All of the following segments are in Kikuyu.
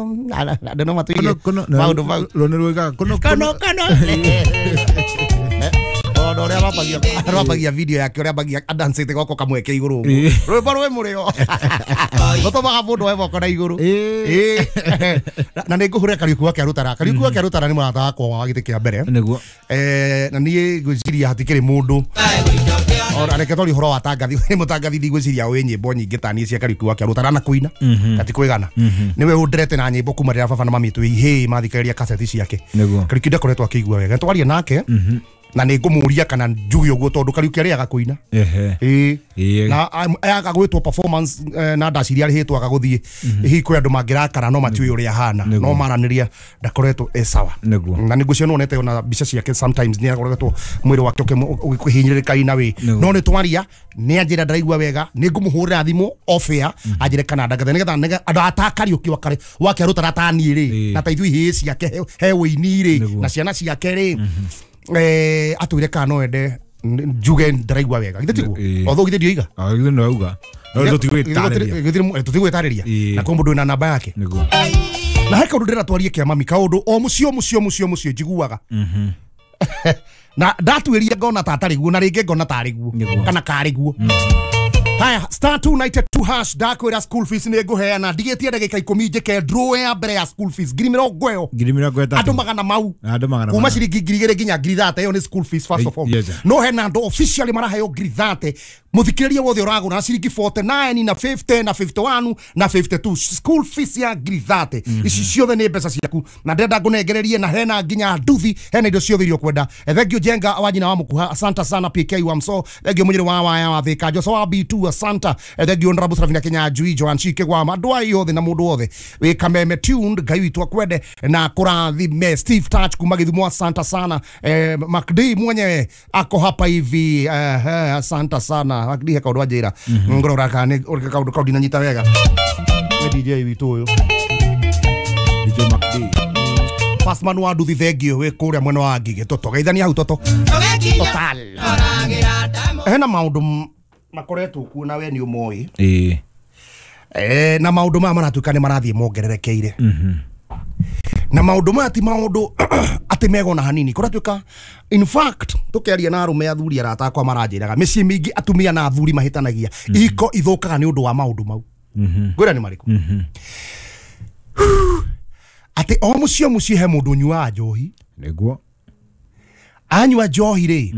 Andũ no matũirie maũndũ mau. Rũnĩ rwĩkaga kono Kono kono. Ona ũrĩa arambagia video yake ũrĩa ambagia adancĩte goko kamwe ke igũrũ ũguo. Rwĩmbo rwĩ mũrĩo. Gũtũmaga mũndũ oe moko na igũrũ. Ĩĩ. Na nĩ ngũhũrĩra Kariũki wa Kĩarũtara. Kariũki wa Kĩarũtara nĩ mũrata wakwa wa gĩtĩ kĩa mbere. Nĩguo. Na niĩ ngwĩciria hatikĩrĩ mũndũ ona reke twarie ũhoro wa tangathi nĩ mũtangathi ndigwĩciria ũĩ nyĩmbo nyingĩ ta niĩ cia Kariũki wa Kĩarũtara na kũina gati kwĩgana nĩwe ũnderete na nyĩmbo kuma rĩrĩa baba na mami twĩ ihĩĩ mathikagĩrĩria kaseti ciake. Nĩguo. Kariũki ndakoretwo akĩigua wega twaria nake na nĩ ngũmũria kana njuge ũguo tondũ Kariũki arĩaga kũina. Ehe. Ĩĩ. Ĩĩ. Na aga gwĩtwo performance na ndaciria arĩhĩtwo aga gũthiĩ hihi kwĩ andũ mangĩrakara no matiũĩ ũrĩa ahana no maranĩria ndakoretwo e sawa. Nĩguo. Na nĩngwĩciria nĩwonete ona mbica ciake sometimes nĩ akoretwo mwĩrĩ wake ũkĩhinyĩrĩrĩka ina wĩ. Nĩguo. No nĩ twaria nĩ anjĩra ndaraigua wega nĩ ngũmũhũrĩra thimũ off air anjĩre kana ndangĩthe nĩgetha andũ ata Kariũki wa Kĩarũtara ta niĩ rĩ na ta ithuĩ ihĩĩ ciake he wĩini rĩ Nĩguo. na ciana ciake rĩ atwĩre kana no ende njuge ndaraigua wega githĩ tiguo? Ĩĩ. Although githĩ ndioiga. Ah, githĩ nĩ wauga no tũtigwĩtarĩria. Tũtigwĩtarĩria Ĩĩ. na kwĩ mũndũ wĩna namba yake. Nĩguo. Na he kaũndũ ndĩrenda twarie kĩa mami kaũndũ o mũciĩ o mũciĩ o mũciĩ o mũciĩ njiguaga na ndatuĩria ngona ta atarĩ guo na rĩngĩ ngona tarĩ guo Nĩguo. kana karĩ guo. Haya, star 292 hash ndakwĩra school fees nĩ ngũheana ndigĩtie ndagĩka 10 njĩke draw ya mbere ya school fees 30,000. 30,000. Andũ magana mau. Andũ magana kuma mana. ciringi 2,000 nginya 30,000 ĩyo nĩ school fees first of all. Yes, sir. No hena andũ officially maraheo 30,000 mũthikĩrĩria wothe ũragũra na ciringi 49 na 50 na 51 na 52 school fees ya 30,000 ici ciothe nĩ mbeca ciaku na ndĩrenda ngũnengererie na hena nginya nduthi hena indo ciothe iria ũkwenda. Thank you Jenga wa nyina wa Mũkuha, asante sana PK wa Mso, thank you Mũnyĩrĩ wa Waya wa Thĩka, Joshua wa B2, asante. Thank you Honorable Serafina Kinyanjui, Joan Chike wa andũ aya othe na mũndũ wothe wĩ Kameme tuned Ngai witũ akwende na kũrathime. Steve Touch kuma Gĩthumo, asante sana. MacD mwenyewe ako hapa hivi, asante sana MacD he kaũndũ anjĩra ngorora kana nĩ kaũndũ kau ndinanyita wega nĩ DJ witũ ũyũ DJ MacD. Fastman wa nduthi thengio wĩ kũrĩa mwena wa Ngigĩ toto geithania hau toto total hena maũndũ makoretwo kuo na we nĩ ũmoĩ. Ĩĩ. Na maũndũ maya maratuĩka nĩ marathiĩ mongererekeire na maũndũ maya ti maũndũ atĩ megona hanini kũratuĩka in fact tũkĩaria na arũme athuri arata akwa maranjĩraga mĩciĩ mĩingĩ atumia na athuri mahĩtanagia ihiko ithũkaga nĩ ũndũ wa maũndũ mau. Ngwĩra nĩ marĩkũ? Atĩ o mũciĩ o mũciĩ he mũndũ ũnyuaga njohi. Nĩguo. Anyua njohi rĩ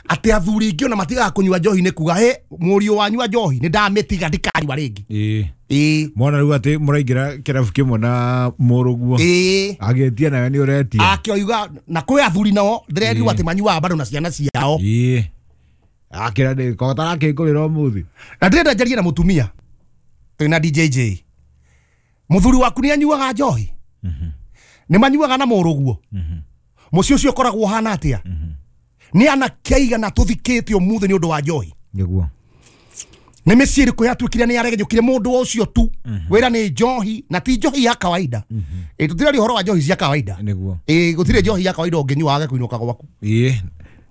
atĩ athuri aingĩ ona matigaga kũnyua njohi nĩ kuga he mũriũ wanyua njohi nĩ ndamĩtiga ndikanyua rĩngĩ. Ĩĩ. Ĩĩ. Mwana rĩu atĩ mũraingĩra kĩrabu kĩmwe na mũrũguo. Ĩĩ. Agĩtia nawe nĩ ũretia. Akĩoiga na kwĩ athuri nao ndĩrerirwo atĩ manyuaga bado na ciana ciao. Ĩĩ. Akĩra ndĩ ko tarakĩngũrĩra ũmũthĩ. Na ndĩrenda njarie na mũtumia twĩna DJJ mũthuri waku nĩ anyuaga njohi? Nĩ manyuaga na mũrũguo? Mũciĩ ũcio ũkoragwo ũhana atĩa? Nĩ anake aigana tũthikĩte ũmũthĩ nĩ ũndũ wa njohi? Nĩguo. Nĩ mĩciĩ ĩrĩkũ yatuĩkire nĩ yaregenyũkire mũndũ ũcio tu wĩra nĩ njohi na ti njohi ya kawaida. Ĩ tũtiraria ũhoro wa njohi cia kawaida. Nĩguo. Ĩ gũtirĩ njohi ya kawaida ũngĩnyua wage kũinũka gwaku. Ĩĩ.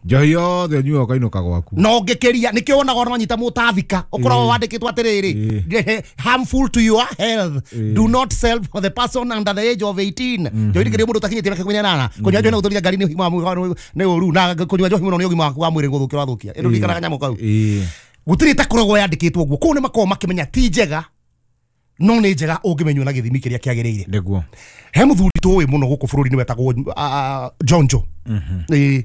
Njohi yothe ũnyuaga ũkainũka gwaku. Na ũngĩkĩria nĩkĩo wonaga ona wanyita mũtathika ũkoragwo wandĩkĩtwo atĩrĩrĩ harmful to your health do not sell for the person under the age of 18. Njohi ndĩkĩrĩ mũndũ ũtakinyĩtie mĩaka 18 kũnyua njohi na gũtwarithia ngari nĩ ũgima wa mwĩrĩ nĩ ũru na kũnyua njohi mũno nĩ ũgima waku wa mwĩrĩ gũthũkia ũrathũkia. Ĩndũ ririkanaga nyamũ kau. Ĩĩ. Gũtirĩ ĩtakoragwo yandĩkĩtwo ũguo kũu nĩ makoragwo makĩmenya ti njega no nĩ njega ũngĩmenywo na gĩthimi kĩrĩa kĩagĩrĩire. Nĩguo. He mũthuri tũĩ mũno gũkũ bũrũri-inĩ wetagwo Jonjo. Ĩĩ.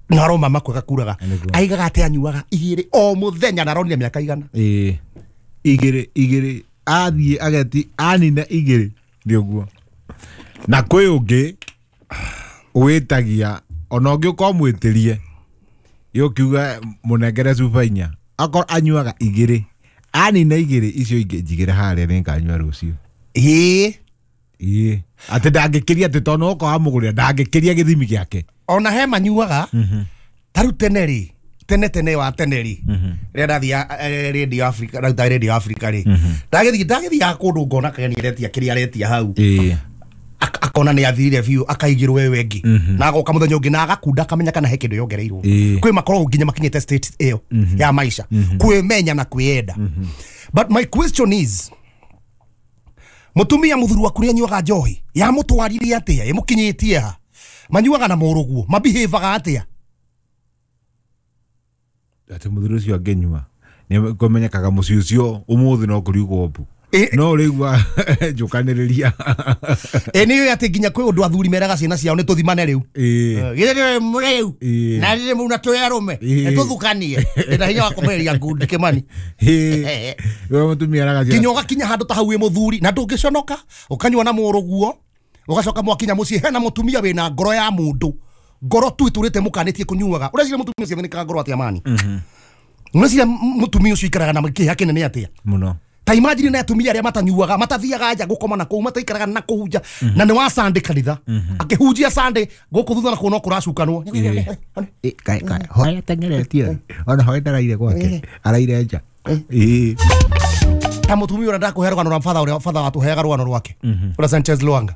Na aroma makwe gakuraga Nĩguo. aigaga atĩ anyuaga igĩrĩ o mũthenya na aronire mĩaka igana. Ĩĩ. Igĩrĩ igĩrĩ athiĩ ageti anina igĩrĩ nĩ ũguo. Na kwĩ ũngĩ wĩtagia ona ũngĩ ũkorwo mwĩtĩrie yũkiuga mũnengere cuba inya akorwo anyuaga igĩrĩ anina igĩrĩ icio ingĩ njigĩre harĩa nĩnganyua rũciũ. Ĩĩ. Ĩĩ. Atĩ ndangĩkĩria atĩ tondũ okorwo amũgũrĩra ndangĩkĩria gĩthimi gĩake. Ona he manyuaga ta rĩu tene rĩ tene tene wa tene rĩ rĩrĩa ndathia Radio Africa ndaruta Radio Africa rĩ ndagĩthiaga kũndũ ngona kageni aretia kĩrĩa aretia hau. Ĩĩ. Akona nĩ athirire biũ akaigĩrwo wewe ĩngĩ na agoka mũthenya ũngĩ na agakunda akamenya kana he kĩndũ yongereirwo. Kwĩ makoragwo nginya makinyĩte state ĩyo ya maisha kwĩmenya na kwĩyenda. But my question is Mutumia muthuri waku ni anyuaga njohi ya mutwarire atia imukinyitie ha manyuaga na muruguo mabihevaga atia ati muthuri ucio anginyua ni kumenyekaga muciĩ ucio umuthi no kuriugwo mbu no rĩigua njukanĩrĩria nĩ ati nginya kwĩ ũndũ athuri meraga ciana ciao nĩ tũthimane rĩu githĩ rĩu na rĩrĩ mũna twĩ arũme nĩ tũthukanie ndĩna hinya wa kũmereria ngundi Kĩmani we mũtumia araga nginya ũgakinya handũ ta hau wĩ mũthuri na ndũngĩconoka ũkanyua na mũrũguo ũgacoka mwakinya mũciĩ hena mũtumia wĩna ngoro ya mũndũ ngoro tu itũrĩte mũkanĩtie kũnyuaga ũreciria mũtumia ũcio athĩnĩkaga ngoro atĩa mani ũreciria mũtumia ũcio ikaraga na kĩeha kĩnene atĩa mũno ta imagine na atumia aria matanyuaga matathiaga nja gukoma na kuu mataikaraga na kuu nja na ni wa Sunday kanitha akihunjia Sunday guku thutha na kuu no kuracukanwo hoya tengeretie ona hoya ndaraire gwake araire nja ta mutumia uria ndakuhe rugano rwa father uria father watuheaga rugano rwake uria Sanchez Luanga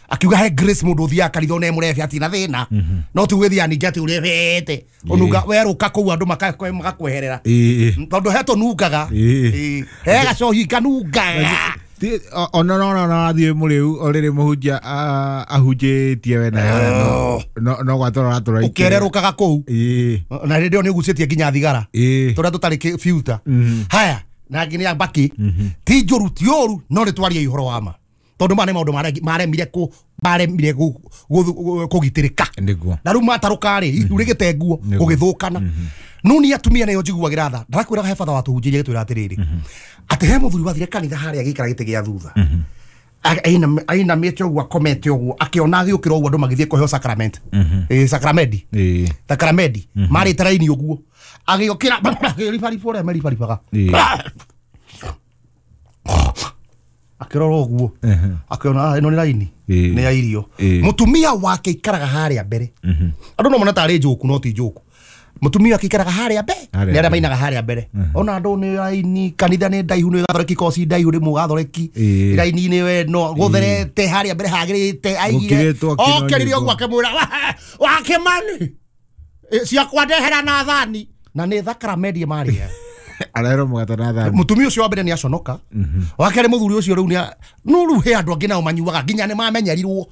akiuga he Grace mundu uthiaga kanitha one murebi atina thina no ti gwithia ningi ati urebete ununga weruka kuu andu magakweherera tondu he tunungaga he gacohi kanungaga ona no no athie muriu oriri muhunjia ahunjitie we na no gwatora ratora ukererukaga kuu na rĩrĩ ni ugucitie nginya thigara turia tutari filter haya na nginya mbaki ti njuru ti uru no nĩ twarie ũhoro wa ma tondu ma nĩ maũndũ maremire ku maremire kũgitĩrĩka na rĩu matarũka rĩ ihu rĩgĩte nguo gũgĩthũkana no nĩ atumia nayo njiguagĩra tha ndarakwĩraga he batha watũhunjĩria gĩtwĩra atĩrĩrĩ atĩ he mũthuri wathire kanitha harĩa agĩikara gĩtĩ gĩa thutha ainamĩte ũguo akomete ũguo akĩona agĩũkĩra ũguo andũ magĩthiĩ kũheo sacrament sacramedi sacramedi marĩte raini ũguo agĩũkĩra akĩribariba ũrĩa meribaribaga akĩrora ũguo akĩona ĩno nĩ raini nĩ ya irio mũtumia wake ikaraga harĩa mbere andũ no mona tarĩ njũku no ti njũku mũtumia wake ikaraga harĩa mbere nĩ arĩa mainaga harĩa mbere ona andũ nĩ raini kanitha nĩ ndaihu nĩ gathoreki koci ndaihu rĩ mũgathoreki raini-inĩ we no gũtherete harĩa mbere hagĩrĩte aigire okĩrire ũguo akĩmwĩra wakĩmani ciakwa ndehera na thani na nĩ thakramedi marĩa arero mugata na thani mutumia ucio wa mbere ni aconoka wa kerĩ muthuri ucio riu ni no riu he andu angi nao manyuaga nginya ni mamenyerirwo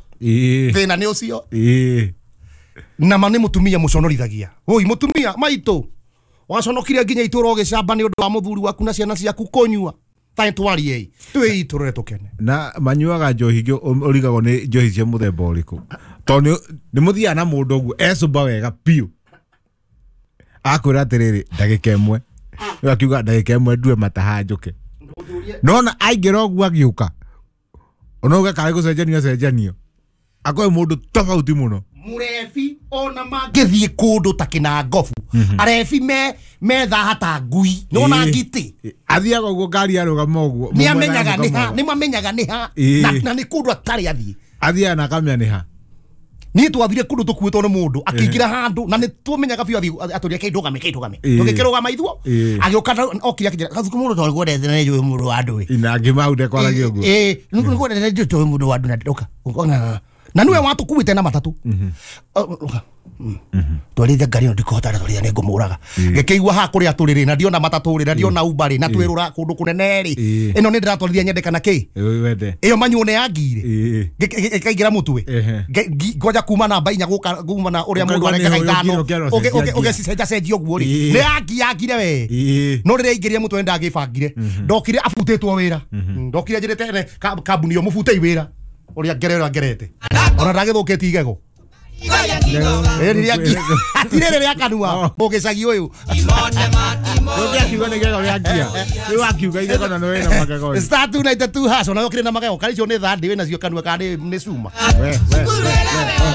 thina ni ucio na ma ni mutumia muconorithagia woi mutumia maitu waconokire nginya itũra ũgĩcamba nĩ ũndũ wa mũthuri waku na ciana ciaku kũnyua ta twariei twĩ itũrore tũkene na manyuaga njohi ũrigagwo nĩ njohi cia mũthemba ũrĩkũ tondũ nĩ mũthiaga na mũndũ ũguo ecũmba wega biũ akwĩra atĩrĩrĩ ndagĩka ĩmwe akiuga ndagĩka ĩmwe ndue mataha njũke nona aingĩra ũguo agĩũka ona uge karĩ gũcenjanio acenjanio akoe mũndũ tofauti mũno murebi ona mangĩthiĩ kũndũ ta kĩnangobu arebi methaha ta ngui nona ngitĩ athiaga ũguo ngari arũgama ũguo nĩamenyaga nĩha nĩmamenyaga nĩha na nĩ kũndũ atarĩ athiĩ athiaga na akamenya nĩha niĩ twathire kũndũ tũkuĩtwo nĩ mũndũ akĩingĩra handũ na nĩ tũmenyaga biũ athiĩ atũria kĩndũgame kĩndũgame tũgĩkĩrũgama ithuo agĩũka okire akĩnjĩra gathuku mũndũ tondũ ngwendete na nĩnjũĩ mũndũ wa andũ ĩ na ngĩma ndekwaragia ũguo nĩngwendete nĩnjũĩ mũndũ wa andũ na ũka na niwe watũkuĩte na matatũ twarithia ngari ĩno ndikũhota twarithia nĩ ngũmũraga ngĩkĩigua haha kũrĩa tũrĩ rĩ na ndiona matatũ rĩ na ndiona Uber rĩ na twĩrũra kũndũ kũnene rĩ ĩno nĩ ndĩratwarithia nyende kana kĩ ĩyo manyuo nĩ yangire ĩkaingĩra mũtwe ngoja kuma namba inya gũka kuma na ũrĩa mũndũ arengaga ithano ũgĩcicenjacenjia ũguo rĩ nĩ yangire we no rĩrĩa aingĩrire mũtwe nĩndagĩbangire ndokire abutĩtwo wĩra ndokire njĩrĩte ene kambuni ĩyo mũbutei wĩra ũrĩa ngere ũrĩa ngerete ona ndagĩthũkĩtie igego atirĩ rĩa kanua mũgĩcagi ũyũ Ndũngĩakiuga nĩ igego rĩa ngia rĩu wakiuga igego na nĩ wĩna magego star 292 hash ona ũkĩrĩ na magego kana icio nĩ thandĩ wĩnacio kanua kana nĩ cuma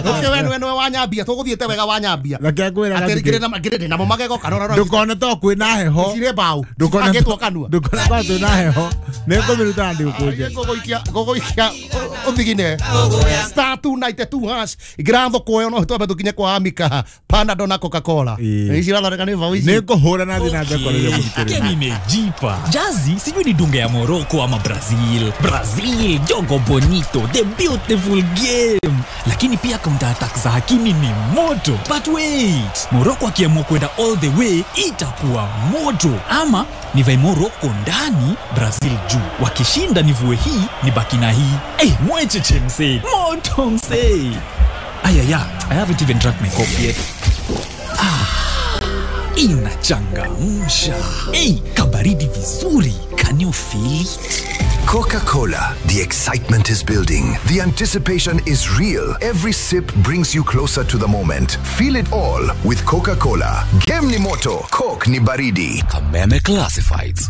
ũkĩ we nĩwe wanyambia tũgũthiĩte wega wanyambia reke ngwĩre atĩ ngĩrĩ namo magego kana ũrora ndũkone to kwĩna heho cirĩ mbaũ cibangĩtwo kanua ndũkone to twĩna heho nĩ ngũmĩruta na ndĩgũkũnje ngũgũikia ũthigine star 292 hash ingĩra thoko ĩyo no twambe tũkinye kwa Amika Panadol na Coca-Cola ici irathondeka nĩ mbaũ ici nĩ ngũhũra na thiĩ na mbere Game imejipa. Jazi sijui ni dunga ya Morocco ama Brazil. Brazil, jogo bonito, the beautiful game. Lakini pia counter attack za Hakimi ni moto. But wait, Morocco akiamua kwenda all the way itakuwa moto. Ama nivae Morocco ndani, Brazil juu. Wakishinda nivue hii, nibaki na hii. Eh, mwecheche msee. Moto msee. Ayaya, I haven't even drank my coffee yet. Inachangamsha. Hey, kabaridi vizuri. Can you feel it? Coca-Cola. The excitement is building. The anticipation is real. Every sip brings you closer to the moment. Feel it all with Coca-Cola. Game ni moto, Coke ni baridi. Kameme Classifieds.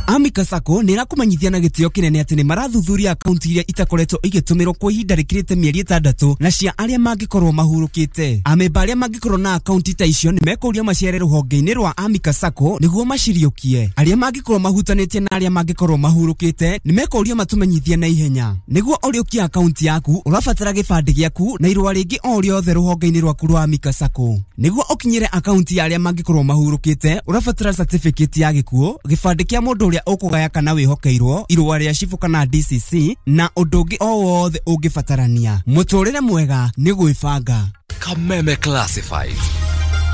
Amika Sacco nä ĩrakũmenyithia na gĩtĩo kĩnene atĩ nĩ marathuthuria akaunti iria itakoretwo igĩtũmĩrwo kwa ihinda rĩkĩrĩte mĩeri 6 na cia arĩa mangĩkorwo mahurũkĩte. Amemba arĩa mangĩkorwo na akaunti ta icio nĩ mekũrio macere rũhonge-inĩ rwa Amika Sacco nĩguo maciriũkie. Arĩa mangĩkorwo mahutanĩtie na arĩa mangĩkorwo mahurũkĩte nĩ mekũrio matũmenyithie na ihenya. Nĩguo ũrĩũkie akaunti yaku ũrabatara gĩbandĩ gĩaku na irũa rĩngĩ o rĩothe rũhonge-inĩ rwaku rwa Amika Sacco. Nĩguo ũkinyĩre akaunti ya arĩa mangĩkorwo mahurũkĩte ũrabatara certificate ya gĩkuũ, gĩbandĩ kĩa mũndũ ũrĩa ũkũgaya kana wĩhokeirwo, irũa rĩa cibũ kana DCC na ũndũ ũngĩ o wothe ũngĩbatarania. Mũtũrĩre mwega nĩ gwĩbanga. Kameme Classifieds.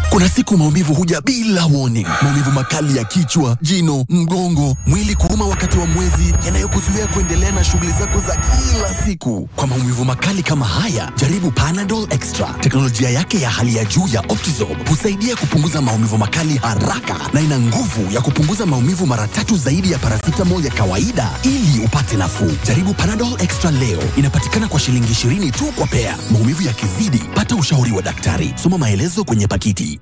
Kuna siku maumivu huja bila warning. Maumivu makali ya kichwa, jino, mgongo, mwili kuuma wakati wa mwezi, yanayokuzuia kuendelea na shughuli zako za kila siku. Kwa maumivu makali kama haya, jaribu Panadol Extra. Teknolojia yake ya hali ya juu ya Optizorb husaidia kupunguza maumivu makali haraka na ina nguvu ya kupunguza maumivu mara 3 zaidi ya paracetamol ya kawaida ili upate nafuu. Jaribu Panadol Extra leo. Inapatikana kwa shilingi 20 tu kwa pea. Maumivu yakizidi, pata ushauri wa daktari. Soma maelezo kwenye pakiti.